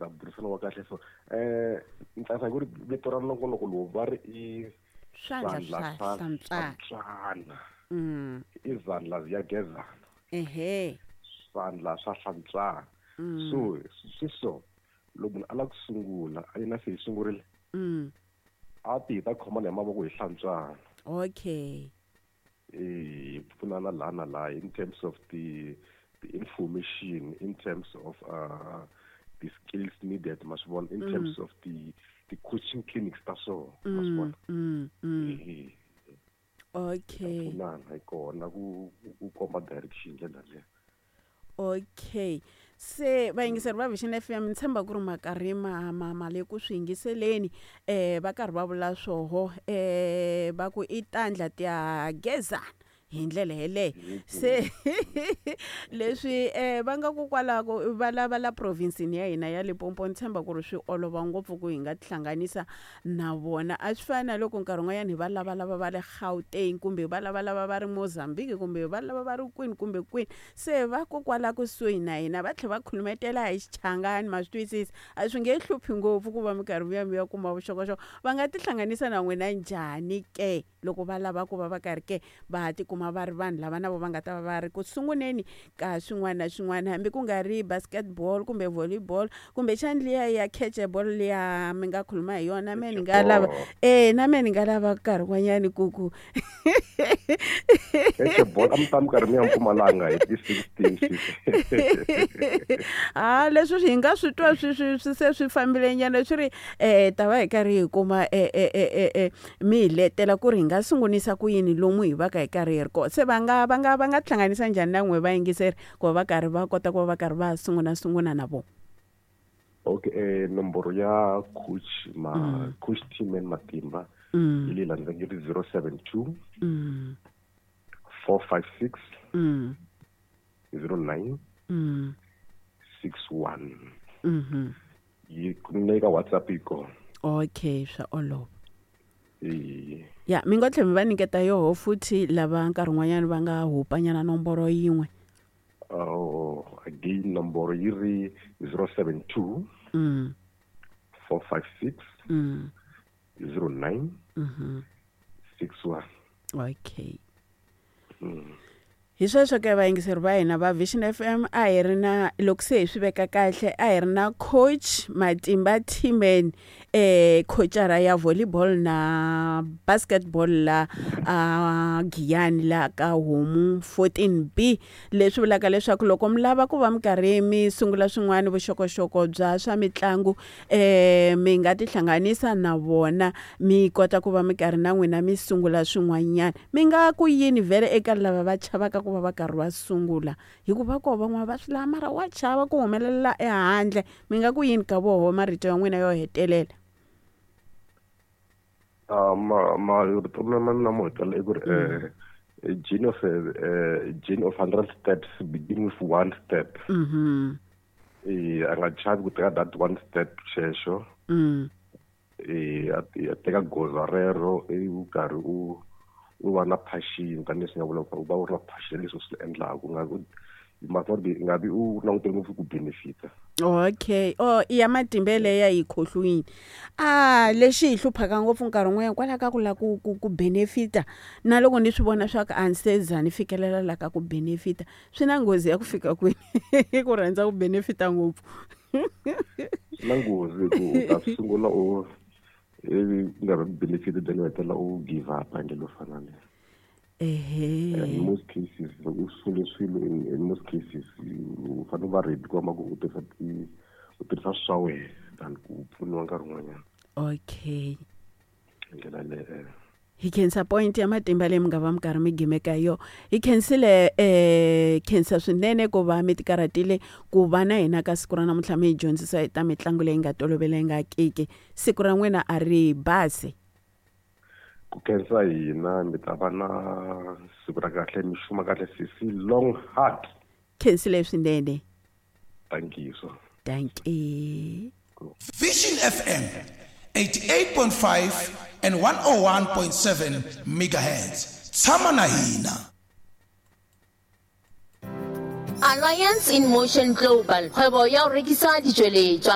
ta burisana wa kahle. So ni tsakisa hi ku ri vito ra nongonoko lowu va ri i Swandla Swandla Swa Swa Hlantswana. Hlantswana. I zandla ziyagezana. Swandla swa hlantswana. So swi so loko munhu a lava ku sungula, a yena se hi sungurile, a ti hi ta khomana hi mavoko hi hlantswana. Hi pfunana laha na laha in terms of the information, in terms of the skills needed, ma swi vona, in terms of the coaching clinics ta so, ma swi vona. Pfunana hi kona ku komba direction ndlela leyo. Okay, se vayingiseri va Vision FM, ni tshemba ku ri makarhi ma le ku swi yingiseleni. Va karhi va vula swoho, va ku i tandla tiya gezana hi ndlela yeleyo. Se leswi va nga ku kwalako va lava la province-ini ya hina ya Limpopo, ni tshemba ku ri swi olova ngopfu ku hi nga tihlanganisa na vona. A swi fani na loko nkarhi wun'wanyana hi va lavalava va le Gauteng, kumbe va lavalava va ri Mozambique, kumbe va lava va ri kwini kumbe kwini. Se va ko kwala kusuhi na hina, va tlhela va khulumetela hi Xichangani, ma swi twisisa, a swi nge hluphi ngopfu ku va minkarhi mi ya kuma vuxokoxoko. Va nga tihlanganisa na n'wina njhani ke loko va lava ku va va karhi ke va tikuma va ri vanhu lava na vo va nga ta va va ri ku sunguleni ka swin'wana na swin'wana, hambi ku nga ri basketball kumbe volleyball, kumbexani liya ya catchball liya mi nga khuluma hi yona? Me ni nga lava na me ni nga lava nkarhi wun'wanyani ku Catchball a mi ta mi karhi mi ya Mpumalanga hi ti 16. Ha, leswi hi nga swi twa swi se swi fambile nyana, swi ri ta va hi karhi hi kuma mi hi letela ku ri hi nga sungulisa ku yini lomu hi va ka hi karhi hi ri kona. Se va nga tihlanganisa njhani na n'we vayingiseri ku va va karhi va kota ku va va karhi va sungula sungula na vona? Okay, nomboro ya coach ma coach Tman Matimba yi leyi landzelaka, yi ri 072 456 09 61. Yi na ka WhatsApp yi kona. Okay, swa olova. E. Ya, mi ngo tlhela mi va nyiketa yoho futhi lava nkarhi wun'wanyana va nga hupanyana nomboro yin'we. Oh, again, nomboro yi ri 072 456 09 61. Okay. Hi sweswo ke, vayingiseri va hina va Vision FM, a hi ri na, loko se hi swi veka kahle, a hi ri na coach Matimba Tman, coachara ya volleyball na basketball la a Giyani, la ka Homu 14B. Leswi vulaka leswaku loko mi lava ku va mi karhi mi sungula swin'wana vuxokoxoko bya swa mitlangu, mi nga tihlanganisa na vona, mi kota ku va mi karhi na n'wina mi sungula swin'wanyana. Mi nga ku yini vhele eka lava va chavaka ku va va karhi va sungula, hikuva koho van'wana va swi lava mara wa chava ku humelela ehandle? Mi nga ku yini ka voho, marito ya n'wina yo hetelela? Ma rito ma mina mo hetelela i ku ri a journey of 100 steps begin with one step. A nga chavi ku teka that one step xexo. A teka goza rero ivi u karhi u va na passion, tanihileswi nga vula ku u va u ri na passion leswi u swi endlaka, u nga u you must not be, nga vi u langutele ngopfu ku benefita. Okay, oh, i ya matimba leya yi khohlwini. A lexi hi hluphaka ngopfu nkarhi wun'wanyana kwalaho ka ku lava ku benefita, na loko ni swi vona swa ku a ni se za ni fikelela la ka ku benefita, swi na nghozi ya ku fika kwini ku rhandza ku benefita ngopfu? Swi na nghozi ku u ta sungula u ivi ku nga vi benefit, then u hetelela u give up hi ndlela yo fana leyo. In most cases, loko u sungule swilo, in most cases u fanele u va ready ku va ku u tirhisa swa wena than ku pfuniwa nkarhi wun'wanyana. Hi ndlela leyo. Hi khensa point ya matimba leyi mi nga va mi karhi mi gimeka yo. Hi khensile, khensa swinene ku va mi tikarhatile ku va na hina ka siku ra namuntlha, mi hi dyondzisa hi ta mitlangu leyi nga tolovelengakiki. Siku ra n'wina a ri basi. Ku khensa hina, mi ta va na siku ra kahle, mi xuma kahle, sisi Long Heart. Khensile swinene. Thank you so. Dankie. Vision FM 88.5 and 101.7 megahertz. Tshama na hina. Alliance in Motion Global, kgwebo ya go rekisa ditšweletšwa.